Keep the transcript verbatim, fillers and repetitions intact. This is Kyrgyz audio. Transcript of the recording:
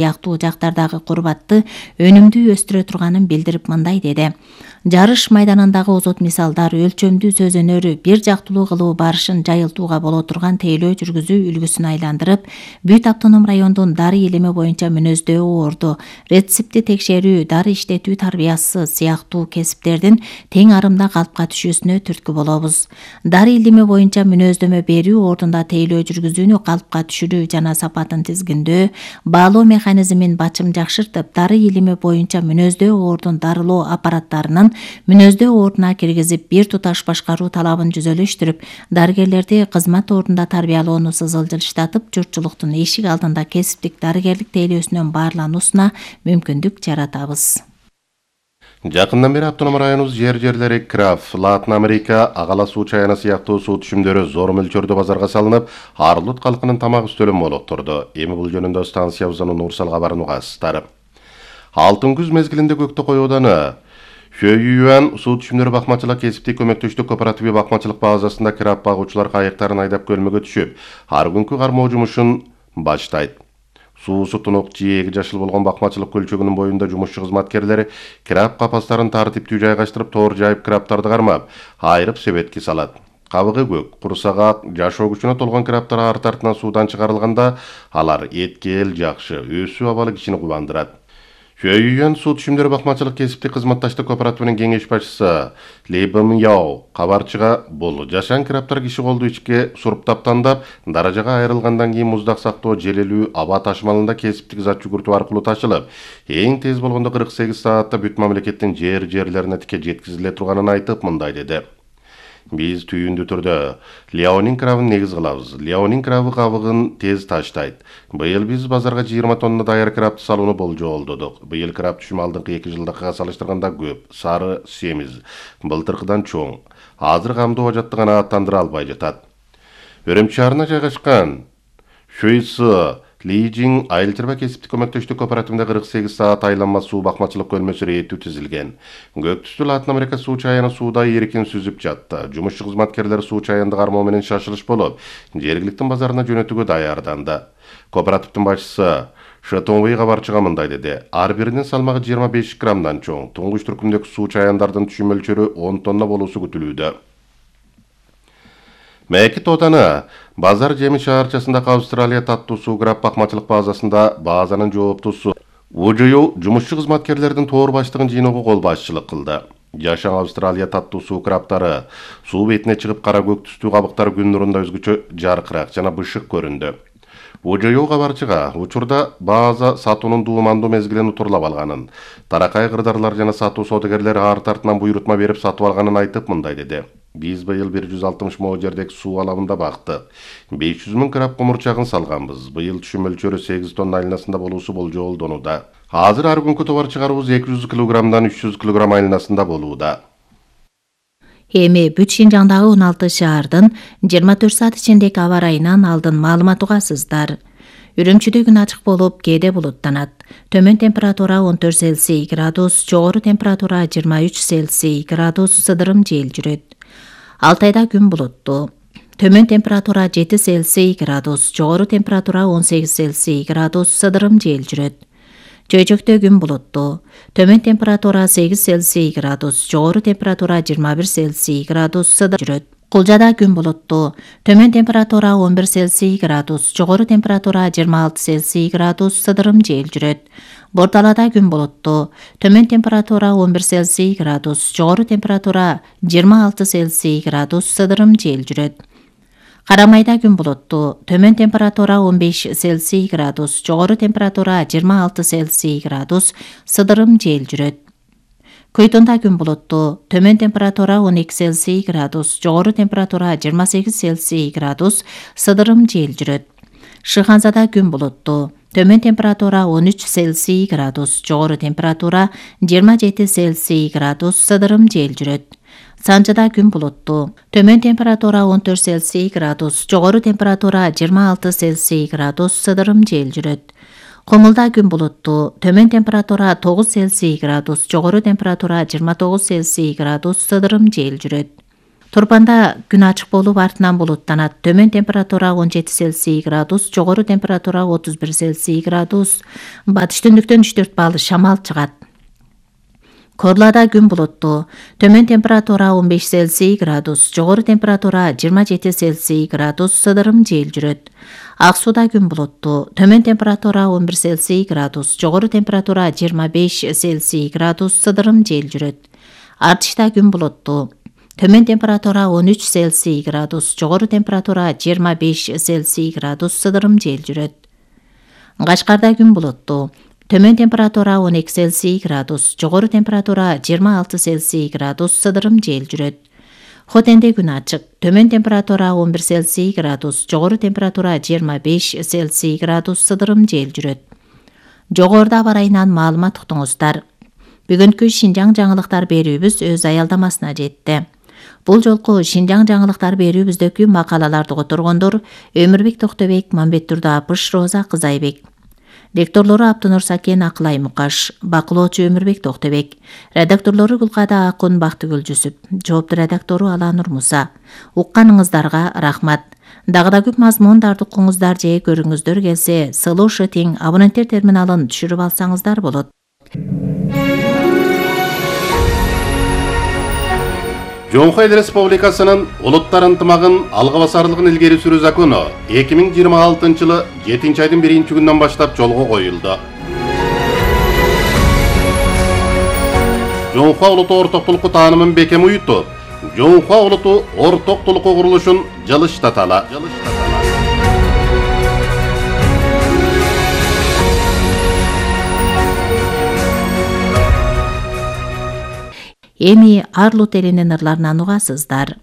сыяктуу жактардагы курбатты өнүмдүү өстүрө турганын билдирип мындай деди. Жарыш майданындагы озот мисалдар өлчөмдүү сөз өнөрү бир жактылуу кылуу барышын жайылтууга боло турган тейлөө жүргүзүү үлгүсүн айландырып, Бүт автоном райондун дары илими боюнча мүнөздөө орду, рецепти текшерүү, дары иштетүү тарбиясы сыяктуу кесиптердин тең арымда калпка түшүүсүнө түрткү болобуз. Дары илими боюнча мүнөздөмө берүү ордунда тейлөө жүргүзүүнү калпка түшүрүү жана сапатын тизгиндөө, баалоо механизмин бачым жакшыртып, дары илими боюнча мүнөздөө ордун дарылоо аппараттарынын мүнөздөө ордуна киргизип, бир туташ башкаруу талабын жүзөлөштүрүп, дарыгерлерди кызмат ордунда тарбиялоону сызылжылыштатып, журтчулуктун эшик алдында кесиптик дарыгерлик тейлөөсүнөн баарлануусуна мүмкүндүк жаратабыз. Жакындан бери автоном районубуз жер-жерлери краф, Латын Америка, Агала суу чаяна сыяктуу суу түшүмдөрү зор мөлчөрдө базарга салынып, Арлут калкынын тамак үстөлүн молоктурду. Эми бул жөнүндө станциябыздын Нурсал кабарын угасыздар. Алтын күз мезгилинде Көктөкөй ауданы Фөйюан суу түшүмдөрү бакмачылык кесиптик көмөктөштүк кооперативи бакмачылык базасында краб багуучулар кайыктарын айдап көлмөгө түшүп, ар күнкү кармоо жумушун баштайт. Суусу тунук жээги жашыл болгон бакмачылык көлчөгүнүн боюнда жумушчу кызматкерлери краб капастарын тартиптүү жайгаштырып, тоор жайып крабтарды кармап, айрып себетке салат. Кабыгы көк, курсагаат, жашоо күчүнө толгон крабтар арты артынан суудан чыгарылганда, алар эткел жакшы, өсүү абалы кишини кубандырат. Фөйюан суу түшүмдөрү бакмачылык кесиптик кызматташтык кооперативинин кеңеш башчысы Ли Бим Яо кабарчыга бул жашан крабтар киши колду ичке суруптап тандап, даражага айрылгандан кийин муздак сактоо желелүү аба ташмалында кесиптик зат жүгүртүү аркылуу ташылып, эң тез болгондо кырк сегиз саатта бүт мамлекеттин жер-жерлерине тике жеткизиле турганын айтып мындай деди. Биз түйүндүү түрдө Леонин крабын негиз кылабыз. Леонин крабы кабыгын тез таштайт. Быйыл биз базарга жыйырма тонна даяр крабты салууну болжолдодук. Быйыл краб түшүмү алдыңкы эки жылдыкыга салыштырганда көп, сары, семиз, былтыркыдан чоң. Азыр камдоо ажатты гана аттандыра албай жатат. Өрөмчү шаарына жайгашкан Шуйсы Лижин айыл чарба кесиптик көмөктөштүк кооперативинде кырк сегиз саат айланма суу бакмачылык көлмөсү реттүү түзүлгөн. Көк түстүү Латын Америка суу чаяны сууда эркин сүзүп жатты. Жумушчу кызматкерлер суу чаянды кармоо менен шашылыш болуп, жергиликтин базарына жөнөтүүгө даярданды. Кооперативдин башчысы Шатонвей кабарчыга мындай деди. Ар биринин салмагы жыйырма беш граммдан чоң. Туңгуч түркүмдөгү суу чаяндардын түшүм мөлчөрү он тонна болуусу күтүлүүдө. Мэки Тотаны Базар Жеми шаарчасындагы Австралия таттуу суу краб бакмачылык базасында базанын жооптусу Ужую жумушчу кызматкерлердин тоор баштыгын жыйноого кол башчылык кылды. Жашан Австралия таттуу суу крабтары суу бетине чыгып кара көк түстүү кабыктар күн нурунда өзгөчө жаркыраак жана бышык көрүндү. Ужую кабарчыга учурда база сатуунун дуумандуу мезгилин утурлап алганын, таракай кырдаарлар жана сатуу содагерлери арты артынан буйрутма берип сатып алганын айтып мындай деди. Биз быйыл бир жүз алтымыш мо жердеги суу алабында бактык. беш жүз миң краб комурчагын салганбыз. Быйыл түшүм мөлчөрү сегиз тонна айланасында болуусу болжолдонууда. Азыр ар күнкү товар чыгарууубуз эки жүз килограммдан үч жүз килограмм айланасында болууда. Эми бүт Шинжаңдагы он алты шаардын жыйырма төрт саат ичиндеги аба ырайынан алдын маалымат угасыздар. Үрүмчүдө күн ачык болуп, кээде булуттанат. Төмөн температура он төрт Цельсий градус, жогору температура жыйырма үч Цельсий градус, сыдырым жел жүрөт. Алтайда күн булуттуу. Төмөн температура жети Цельсий градус, жогору температура он сегиз Цельсий градус, сыдырым жел жүрөт. Чөйчөктө күн булуттуу. Төмөн температура сегиз Цельсий градус, жогору температура жыйырма бир Цельсий градус, сыдырым жүрөт. Кулжада күн булуттуу. Төмөн температура он бир Цельсий градус, жогору температура жыйырма алты Цельсий градус, сыдырым жел жүрөт. Бордалада күн булуттуу. Төмөн температура он бир Цельсий градус, жогору температура жыйырма алты Цельсий градус, сыдырым жел жүрөт. Карамайда күн булуттуу. Төмөн температура он беш Цельсий градус, жогору температура жыйырма алты Цельсий градус, сыдырым жел жүрөт. Көйтонда күн булуттуу. Төмөн температура он эки Цельсий градус, жогору температура жыйырма сегиз Цельсий градус, сыдырым жел жүрөт. Шыханзада күн булуттуу. Төмөн температура он үч Цельсий градус, жогору температура жыйырма жети Цельсий градус, сыдырым жел жүрөт. Санжыда күн булуттуу. Төмөн температура он төрт Цельсий градус, жогору температура жыйырма алты Цельсий градус, сыдырым жел жүрөт. Комулда күн булуттуу. Төмөн температура тогуз Цельсий градус, жогору температура жыйырма тогуз Цельсий градус, сыдырым жел жүрөт. Турпанда күн ачык болуп артынан булуттанат. Төмөн температура он жети Цельсий градус, жогору температура отуз бир Цельсий градус. Батыш түндүктөн үч төрт балл шамал чыгат. Корлада күн булуттуу. Төмөн температура он беш Цельсий градус, жогору температура жыйырма жети Цельсий градус, сыдырым жел жүрөт. Ак сууда күн булуттуу. Төмөн температура он бир Цельсий градус, жогору температура жыйырма беш Цельсий градус, сыдырым жел жүрөт. Артышта күн булуттуу. Төмөн температура он үч Цельсий градус, жогору температура жыйырма беш Цельсий градус, сыдырым жел жүрөт. Кашкарда күн булуттуу. Төмөн температура он эки Цельсий градус, жогору температура жыйырма алты Цельсий градус, сыдырым жел жүрөт. Хотенде күн ачык. Төмөн температура он бир Цельсий градус, жогору температура жыйырма беш Цельсий градус, сыдырым жел жүрөт. Жогоруда аба ырайынан маалымат уктуңуздар. Бүгүнкү Шинжаң жаңылыктар берүүбүз өз аялдамасына жетти. Бул жолку Шинжаң жаңылыктар берүүбүздөгү макалаларды которгондор Өмүрбек Токтобек, Мамбеттурда Апыш, Роза Кызайбек. Лекторлору Аптынур Сакен, Акылай Мукаш, бакылоочу Өмүрбек Токтобек, редакторлору Гүлкада Акун, Бактыгүл Жүсүп, жоопту редактору Аланур Муса. Укканыңыздарга рахмат. Дагы да көп мазмундарды укуңуздар же көрүңүздөр келсе, Слушай тең абоненттер терминалын түшүрүп алсаңыздар болот. Жоңхо Эл Республикасынын улуттар ынтымагын алга басарлыгын илгери сүрүү закону эки миң жыйырма алтынчы жылы жетинчи айдын биринчи күнүнөн баштап жолго коюлду. Жоңхо улуту ортоктулукку таанымын бекем уютуп, Жоңхо улуту ортоктулукку курулушун жылыштатала. Эми Арлут элинин ырларынан угасыздар.